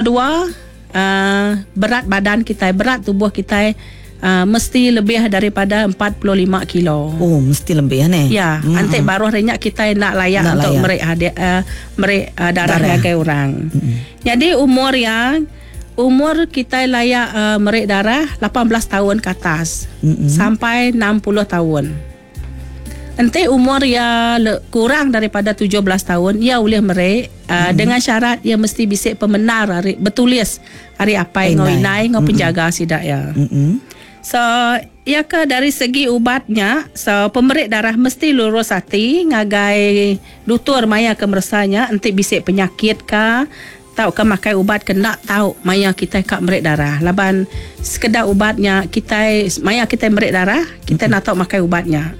Kedua, uh, berat badan kitai, berat tubuh kitai uh, mesti lebih daripada 45 kilo. Oh, mesti lebih ne. Ya, mm-hmm. Enti baruh ari nya kitai enda layak Enda untuk layak. meri hadiah uh, meri uh, darah, Darah. ngagai orang. Jadi umur ya umur kitai layak meri darah 18 tahun ke atas sampai 60 tahun. Enti umur ya kurang daripada 17 tahun, ia boleh meri dengan syarat ia mesti bisi pemenar ari bertulis ari apai ngau Indai. inai ngau penjaga sidak ya. So, ya ke dari segi ubatnya, so pemeri darah mesti lurus hati ngagai dutur maya ke meresanya enti bisi penyakit ke tau ke makai ubat ke nak tau maya kita ka meri darah. Laban sekedar ubatnya kita maya kita meri darah, kita nak tau makai ubatnya.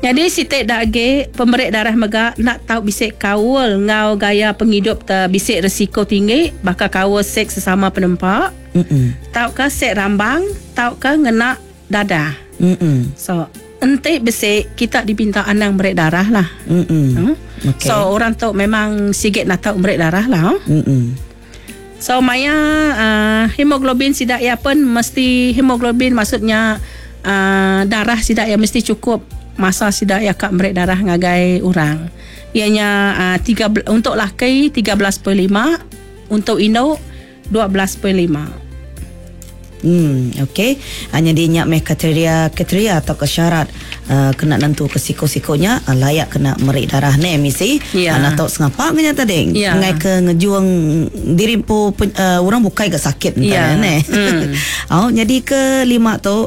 Jadi sitik dage pemeri darah mega nak tau bisik kaul ngau gaya penghidup te bisik risiko tinggi bakal kaul seks sesama penempa. Tau ke sek rambang, tau ke ngena dadah. So, enti bisik kita dipinta anang meri darah lah. Okey. So orang tu memang sigit nak tau meri darah lah. Huh? So maya hemoglobin sidak ya pun mesti hemoglobin maksudnya darah sidak ya mesti cukup masa sidak ya kak meri darah ngagai orang. Ianya tiga, untuk laki 13.5, untuk induk 12.5. Okey. Hanya dia nyak meh kriteria kriteria atau ke syarat kena nentu ke siko-sikonya layak kena meri darah ne misi. Ya. Nak tahu sengapa ngenya tadi. Ya. Ngai ke ngejuang diri pu orang bukai ke sakit Ya. entah ne. Oh, jadi ke lima tu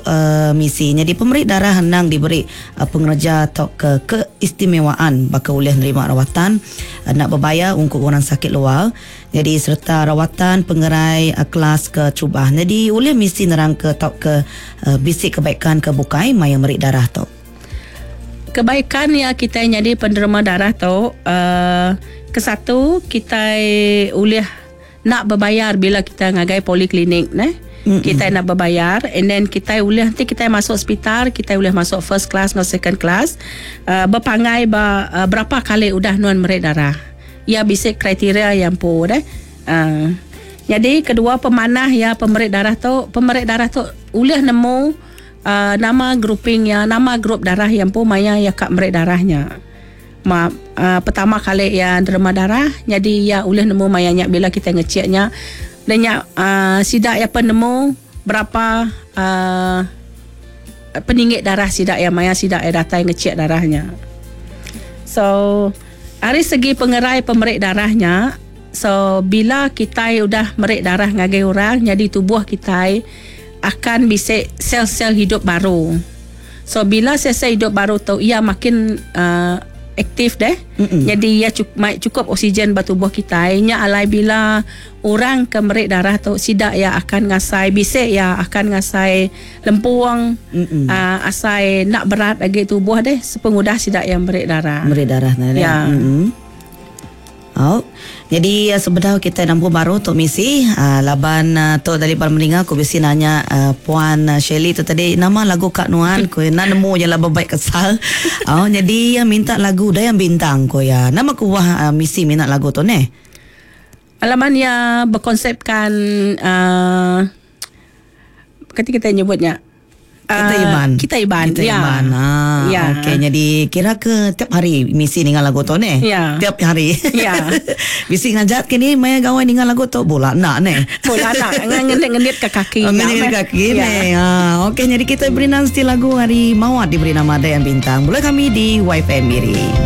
misi. Jadi pemeri darah henang diberi pengerja atau ke keistimewaan bakal boleh nerima rawatan nak berbayar untuk orang sakit luar. Jadi serta rawatan pengerai kelas ke cubah. Jadi boleh misi nerang ke tau ke bisik kebaikan ke bukai maya merik darah tu. Kebaikan ya kita jadi penerima darah tu kesatu kita boleh nak berbayar bila kita ngagai poliklinik ne. Kita nak berbayar and then kita boleh nanti kita masuk hospital, kita boleh masuk first class atau second class berpangai ba, berapa kali udah nuan merik darah. Ya bisik kriteria yang pu deh. Jadi kedua pemanah ya pemeri darah tu, pemeri darah tu boleh nemu nama groupingnya, nama grup darah yang pu maya ya kak meri darahnya. Ma, pertama kali ya nerima darah, jadi ya boleh nemu mayanya bila kita ngeceknya. Dan ya sidak ya penemu berapa peninggit darah sidak ya maya sidak ya datang ngecek darahnya. So dari segi pengerai pemeri darahnya, so bila kita udah merik darah ngagai orang, jadi tubuh kita akan bisa sel-sel hidup baru. So bila sel-sel hidup baru tu ia makin aktif deh. Jadi ia cukup oksigen batu tubuh kita. Nya alai bila orang ke merik darah tu sidak ia akan ngasai bisik ia akan ngasai lempuang asai nak berat lagi tubuh deh sepengudah sidak yang merik darah. Merik darah nah, Ya. Oh. Jadi sebenarnya kita nampu baru tok misi laban tok dari para mendengar aku bisi nanya puan Shirley tu tadi nama lagu Kak Nuan ku nak nemu je lah berbaik kesal. Oh, jadi minta lagu Dayang Bintang ko ya. Nama ku wah misi minat lagu tu ne. Alaman ya berkonsepkan ketika kita nyebutnya Kita Iban. Kita Iban. Kita ya. Iban. Ah, Ya. Okey, jadi kira ke tiap hari misi dengan lagu tu ne? Ya. Tiap hari. Ya. Misi ngajak kini maya gawai dengan lagu tu bola nak ne. Bola nak ngenit-ngenit ke kaki. Oh, ngenit ke kaki Ya. ne. Ah, okey, jadi kita beri nanti lagu hari Mawar diberi nama Dayang Bintang. Boleh kami di YFM Miri.